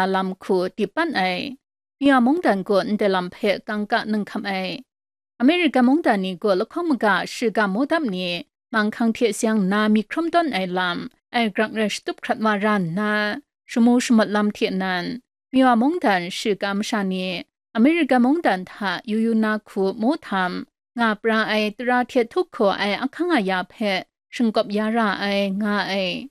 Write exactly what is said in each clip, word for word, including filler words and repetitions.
lam hku dip pan ai. Miwa mungdan gaw ndai lam hpe kangka nang hkam ai. Amerika mungdan ni gaw lahkawng maga shiga mawdap ni manghkang hte seng nna myit hkrum tawn ai lam, ai grak rai shatup hkrat wa ra nna, shamu shamawt lam hte nan, Miwa mungdan shiga masha ni Amerika mungdan hta yu yu na hku mu htam, nga pra ai tara hte htup hkaw ai ahkang aya hpe shingkawp ya ra ai, nga ai.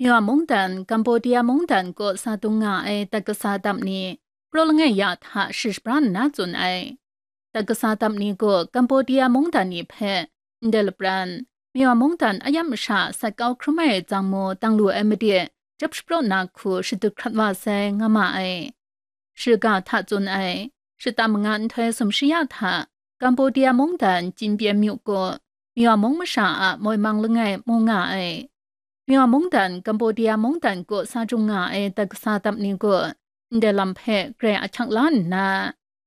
Miwa mungdan, Cambodia mungdan kaw sa dung nga ai dat kasa dap ni, praw langai ya hta shi shabra nna tsun ai. Dat kasa dap ni gaw Cambodia mungdan ni hpe ndai lapran, Miwa mungdan a yam masha sat kau hkrum ai tsang mu dang lu ai made, jap shapraw na hku shadut hkrat wa sai, nga ma ai. Shiga hta tsun ai, shata manga nhtoi sumshi ya hta, Cambodia mungdan Jinbyen myu gaw, Miwa mung masha a moi mang langai mu nga ai. Miwa mungdan Cambodia mungdan kaw sa jung nga ai dat kasa dap ni gaw, ndai lam hpe grai ahkyak la nna,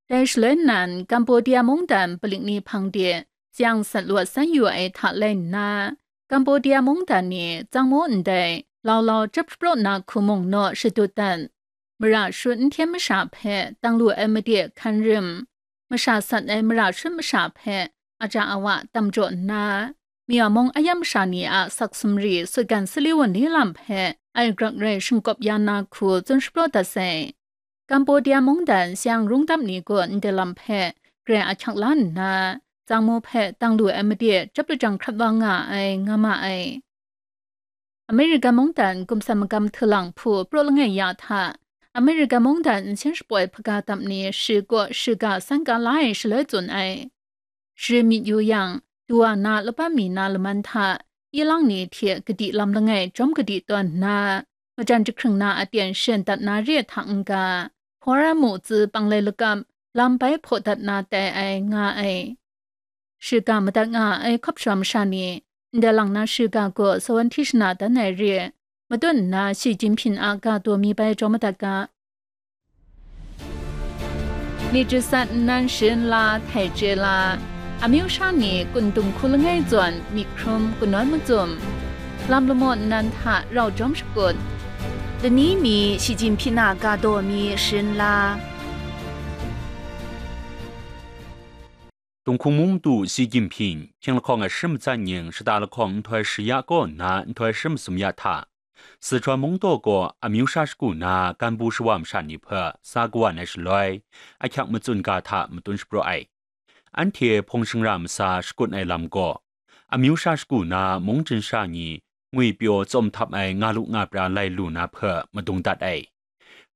dai shaloi nan Cambodia mungdan paling ni hpang de tseng sat lawt san yu ai hta lai nna, Cambodia mungdan ni tsang mu ndai lau lau jap shapraw na hku mung naw shadut dat. Mara shut n hten masha hpe dang lu ai made hkan rim, masha sat ai mara shut masha hpe aja awa tam jaw nna, Miwa mung a yam masha ni a sak sumri sutgan sali wunli lam hpe ai grak rai shingkawp ya na hku tsun shapraw dat sai. Cambodia mungdan tseng rung dap ni gaw ndai lam hpe grai ahkyak la nna, tsang mu hpe dang lu ai made jap lajang hkrat wa nga ai, nga ma ai. Amerika mungdan gumsan magam htulang hpu praw langai ya hta, Amerika mungdan nsen shapoi hpaga dap ni shi kaw shiga san ka la ai shaloi tsun ai. Shi myit yu yang, du wa na laban mi na laman hta, ilang ni hte kadi lam langai jawm kadi tawn nna, majan jahkring na aten shen dat na re hta n-ga, hpawra mu tsi panglai lakap lam bai hpaw dat na tai ai, nga ai. Shiga madat nga ai hkawp sha masha ni, ndai lang na shiga gaw sawan hti shana dan ai re, matut nna Xi Jinping a ga daw mi bai jaw madat ga. Myit jasat nnan sharin la, htai chye la, amyu sha ni kun dung hku langai zawn myit hkrum kanawn macum, lam lamaw nnan hta rau jawm shakut, lani mi Xi Jinping a ga daw mi sharin la. Tunghkung mung madu Xi Jinping, hkying lahkawng a shi matsat nying shata lahkawng nhtoi shi ya kaw nna nhtoi shi masum ya hta, Sichuan mung daw gaw amyu sha shagu na ganbu shawa masha ni hpe sa kawan ai shaloi, ahkyak matsun ga hta matun shapraw ai. Anhte hpawng shingra masa shakut ai lam gaw, amyu sha shagu na mung chyen sha ni ngwipyaw tsawm htap ai nga lu nga pra lai lu na hpe madung dat ai.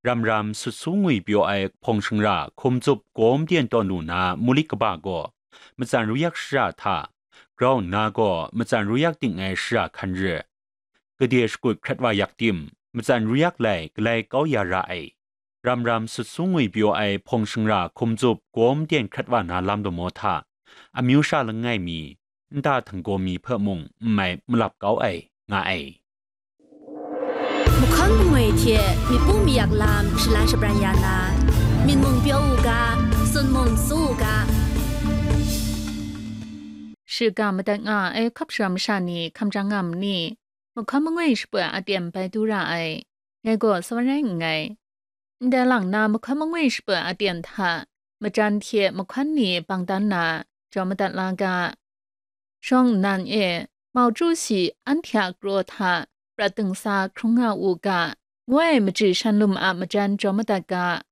Ram ram sut su ngwipyaw ai hpawng shingra hkum tsup gawm byen tawn lu na mulik kaba gaw, matsan ruyak shara hta, grau nna gaw matsan ruyak ding ai shara hkan re, gade shakut hkrat wa yak tim, matsan ruyak lai galai kau ya ra ai. Ram ram sut su ngwipyaw ai hpawng shingra hkum tsup gawm byen hkrat wa na lam lamaw hta, amyu sha langai mi, nta htinggaw mi hpe mung n mai malap kau ai, nga ai. Mahkawn mangwi hte myit pu mayak lam shalan shabran ya na, myit mung pyaw u ga, sun mung su u ga. Shiga madat nga ai hkawp sha masha ni hkamjang nga ma ni? Mahkawn mangwi shapoi aten bai du ra ai, dai gaw sa wa rai nngai. Ndai lang na mahkawn mangwi shapoi aten hta, majan hte mahkawn ni bang dan na, jaw madat la ga. Shawng nnan e, Mao Ju Si anhte a kraw hta prat dingsa hkrung nga u ga, ngu ai machyi shan lum a majan jaw madat ga.